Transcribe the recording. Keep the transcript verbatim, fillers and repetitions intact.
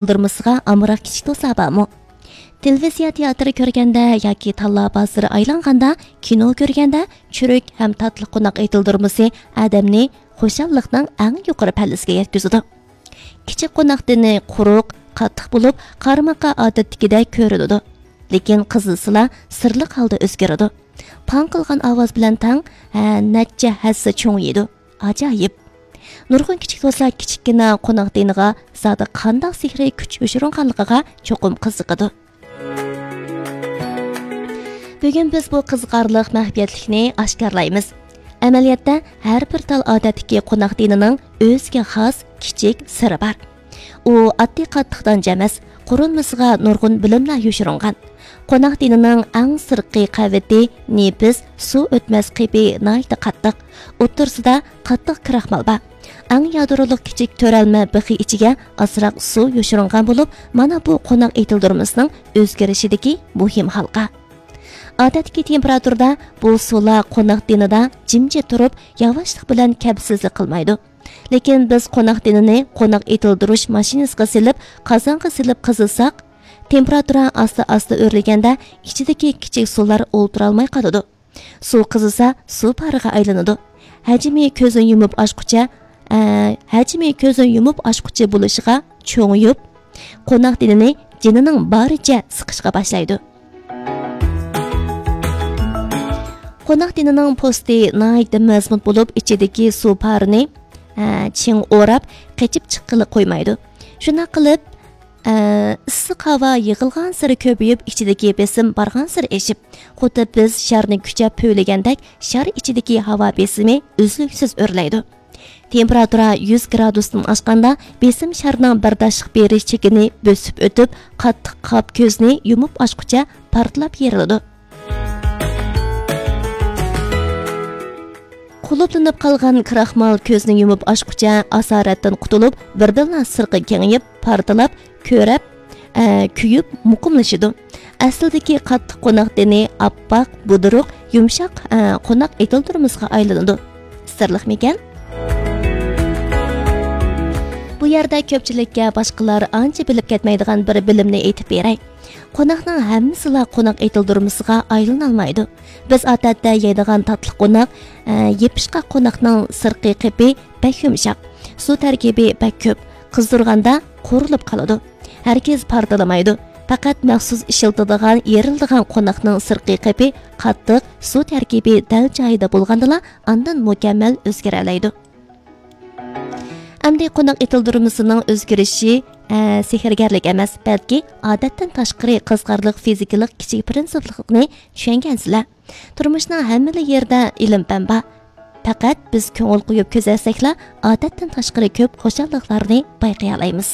ئېتىلدۇرمىسىغا ئامراق كىچىك دوستلار بارمۇ؟ تېلېۋىزىيە تىياتىرى كۆرگەندە ياكى تاللا بازىرى ئايلانغاندا، كىنو كۆرگەندە چۈرۈك ھەم تاتلىق قوناق ئېتىلدۇرمىسى ئادەمنى خۇشاللىقنىڭ ئەڭ يۇقىرى پەللىسىگە يەتكۈزىدۇ. كىچىك قوناق دېنى قۇرۇق، قاتتىق بولۇپ، قارىماققا ئادەتتىكىدەك كۆرۈنىدۇ. لېكىن قىزىسىلا سىرلىق ھالدا ئۆزگىرىدۇ. پاڭ قىلغان ئاۋاز بىلەن تەڭ، ھە، نەچچە ھەسسە چوڭىيىدۇ. ئاجايىپ! نۇرغۇن كىچىك دوستلار كىچىككىنە قوناق دېنىغا زادى قانداق سېھرىي كۈچ يوشۇرۇنغانلىقىغا چوقۇم قىزىقىدۇ. بۈگۈن بىز بۇ قىزىقارلىق مەخپىيەتلىكنى ئاشكارىلايمىز. ئەمەلىيەتتە، ھەر بىر تال ئادەتتىكى قوناق دېنىنىڭ ئۆزىگە خاس كىچىك سىرى بار. ئۇ ئاددىي قاتتىق دانچە ئەمەس، قۇرۇلمىسىغا نۇرغۇن بىلىملەر يوشۇرۇنغان. قوناق دېنىنىڭ ئەڭ سىرتقى قەۋىتى نېپىز، سۇ ئۆتمەس قېپى ناھايىتى قاتتىق. ئوتتۇرىسىدا قاتتىق كراخمال بار. ئەڭ يادرولۇق كىچىك تۆرەلمە بىخى ئىچىگە ئازراق سۇ يوشۇرۇنغان بولۇپ، مانا بۇ قوناق ئېتىلدۇرمىسىنىڭ ئۆزگىرىشىدىكى مۇھىم ھالقا. ئادەتتىكى تېمپېراتۇرىدا بۇ سۇلار قوناق دېنىدا جىمجىت تۇرۇپ، ياۋاشلىق بىلەن كەپسىزلىك قىلمايدۇ. لېكىن بىز قوناق دېنىنى قوناق ئېتىلدۇرۇش ماشىنىسىغا سېلىپ، قازانغا سېلىپ قىزىساق، تېمپېراتۇرا ئاستا-ئاستا ئۆرلىگەندە، ئىچىدىكى كىچىك سۇلار ئولتۇرالماي قالىدۇ. سۇ قىزىسا، سۇ پارىغا ئايلىنىدۇ. ھەجمى كۆزنى يۇمۇپ ئاچقۇچە، ئە، ھەجمى كۆزنى يۇمۇپ ئاچقۇچە بولۇشىغا چوڭىيىپ، قوناق دېنىنى جېنىنىڭ بارىچە سىقىشقا باشلايدۇ. قوناق دېنىنىڭ پوستى ناھايىتى مەزمۇت بولۇپ، ئىچىدىكى سۇ پارىنى، ئە، چىڭ ئوراپ، قېچىپ چىققىلى قويمايدۇ. شۇنداق قىلىپ، ئە، ئىسسىق ھاۋا يىغىلغانسېرى كۆپىيىپ، ئىچىدىكى بېسىم بارغانسېرى ئېشىپ، خۇددى بىز شارنى كۈچەپ پۈۋلىگەندەك، شار ئىچىدىكى ھاۋا بېسىمى ئۈزلۈكسىز ئۆرلەيدۇ. تېمپېراتۇرا يۈز گرادۇستىن ئاشقاندا، بېسىم شارنىڭ بەرداشلىق بېرىش چېكىنى بۆسۈپ ئۆتۈپ، قاتتىق قاپ كۆزنى يۇمۇپ ئاچقۇچە پارتلاپ يېرىلىدۇ. قۇلۇپلىنىپ قالغان كراخمال كۆزنى يۇمۇپ ئاچقۇچە ئاسارەتتىن قۇتۇلۇپ، بىردىنلا سىرقى كېڭىيىپ، پارتلاپ، كۆرەپ، ئە، كۆيۈپ، مۇقىملىشىدۇ. ئەسلىدىكى قاتتىق قوناق دېنى ئاپئاق، بۇدرۇق، يۇمشاق، ئە، قوناق ئېتىلدۇرمىسىغا ئايلىنىدۇ. سىرلىقمىكەن؟ بۇ يەردە كۆپچىلىككە باشقىلار ئانچە بىلىپ كەتمەيدىغان بىر بىلىمنى ئېيتىپ بېرەي. قوناقنىڭ ھەممىسىلا قوناق ئېتىلدۇرمىسىغا ئايلىنالمايدۇ. بىز ئادەتتە يەيدىغان تاتلىق قوناق، ئە، يېپىشقاق قوناقنىڭ سىرتقى قېپى بەك يۇمشاق، سۇ تەركىبى بەك كۆپ، قىزدۇرغاندا قورۇلۇپ قالىدۇ. ھەرگىز پارتلىمايدۇ. پەقەت مەخسۇس ئىشلىتىدىغان، يېرىلىدىغان قوناقنىڭ سىرتقى قېپى قاتتىق، سۇ تەركىبى دەل جايىدا بولغاندىلا، ئاندىن مۇكەممەل ئۆزگىرەلەيدۇ. ئەمدى قوناق ئېتىلدۇرمىسىنىڭ ئۆزگىرىشى، ئە، سېھىرگەرلىك ئەمەس، بەلكى ئادەتتىن تاشقىرى قىزىقارلىق فىزىكىلىق كىچىك پىرىنسىپلىقنى چۈشەنگەنسىلەر. تۇرمۇشنىڭ ھەممىلا يېرىدە ئىلىم-پەن بار. پەقەت بىز كۆڭۈل قويۇپ كۆزەتسەكلا، ئادەتتىن تاشقىرى كۆپ خۇشاللىقلارنى بايقىيالايمىز.